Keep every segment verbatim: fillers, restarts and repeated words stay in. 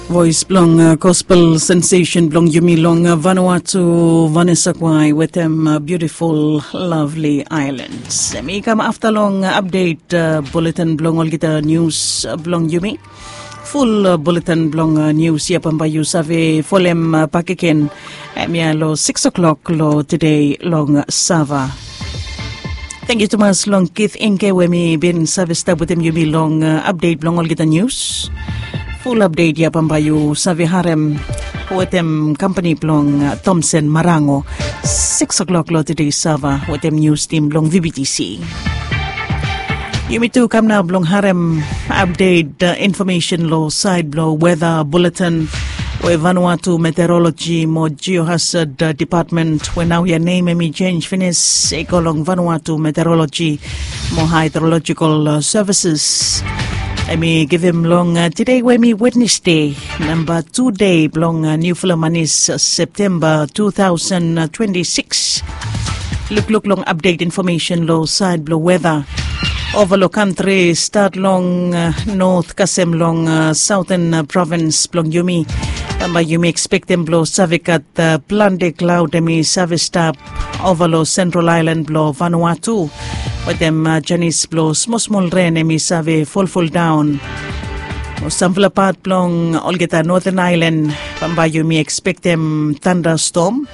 Voes blong gospel sensation blong yumi long Vanuatu, Vanessa Kwai wetem Beautiful Lovely Islands. Em i kam afta long update bulletin blong olgeta nius blong yumi. Ful bulletin blong nius ya bambae yu save folem bakegen. Em ya long six o'clock long tede long Sava. Tangkiu tumas long Kith Inke we mi bin save stap wetem yumi long update blong olgeta nius. Ful update ya bambae yu save harem wetem kampani blong Thomson Marango. Six o'clock long tede Sava wetem nius tim blong VBTC. Yumi tu kam nao blong harem update information long sait blong weda bulletin we Vanuatu Meteorology mo Geohazard Department we nao ya nem em i jenj finis i go long Vanuatu Meteorology mo Hydrological Services. Em i givim long tede we em i Wednesday, namba tu dei blong niufala manis, Septemba two thousand twenty-six. Lukluk long update information long sait blong weda. Ova long kantri, stat long not kasem long sauten provins blong yumi. Bambae yumi ekspektem blong save gat plante klaod em i save stap ova long sentral ailan blong Vanuatu wetem janis blong smosmol ren em i save folfoldaon. Samfala pat blong olgeta noten ailan bambae yumi ekspektem tandastom,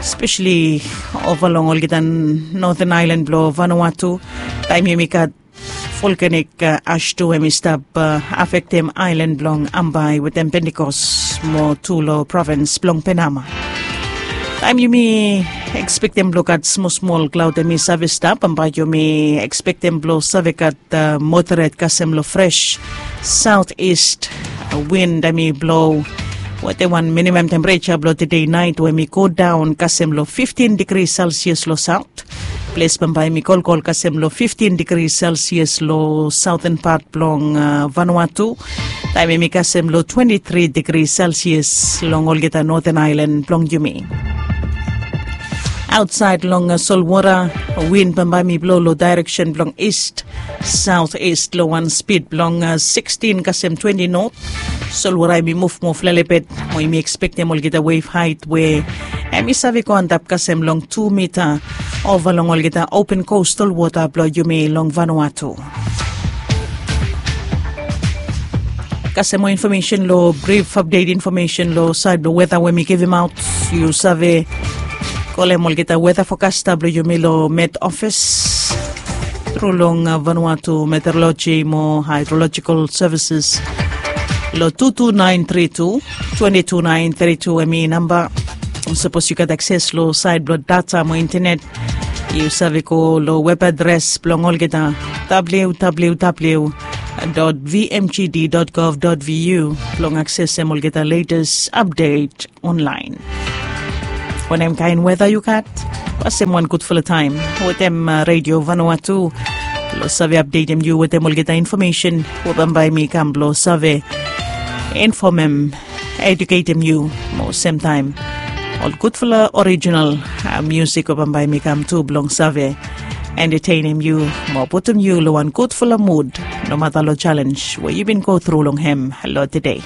spesali ova long olgeta noten ailan blong Vanuatu. Taem yumi gat volkanik as tu em i stap afektem ailan blong Ambae wetem Pentikos mo tu long provins blong Penama. Taem yumi ekspektem blong gat smosmol klaod em i save stap, bambae yumi ekspektem blong save gat moderet kasem long fres saot ist win em i blo wetem wan minimam tempereja blong tede naet we em i godaon kasem long fiftin digri selsias long saot. Ples bambae em i kolkol kasem long fiftin digri selsias long saoten pat blong Vanuatu. Taem em i kasem long twenti tri digri selsias long olgeta noten ailan blong yumi. Aotsaed long solwota, win bambae em i blo long daereksen blong ist saot ist long wan spid blong sikstin kasem twenti not. Solwota em i muvmuv lelebet mo yumi ekspektem olgeta wef haet we em i save go antap kasem long tu mita ova long olgeta open kostal wota blong yumi long Vanuatu. Kasem moa infomesen long brif apdet infomesen long saed blong weta we mi givimaot, yu save kolem olgeta weta fokasta blong yumi long Met Ofis tru long Vanuatu Meteoroloji mo Haedrolojikel Sevises long tu tu naen tri tu twenti tu naen tri tu, em i namba. Sapos yu gat akses long saed blong data mo intenet, yu save go long web adres blong olgeta www dot vmgd dot gov dot vu blong aksesem olgeta letes apdet onlaen. Wanem kaen weta yu gat? Pasem wan gudfala taem wetem Redio Vanuatu blong save apdetem yu wetem olgeta infomesen we bambae mi kam blong save infomem, eduketem yu mo semtaem ol gudfala orijinal miusik we bambae mi kam tu blong save entetenem yu mo putum yu long wan gudfala mud nomata long jalenj we yu bin go tru long hem long tede.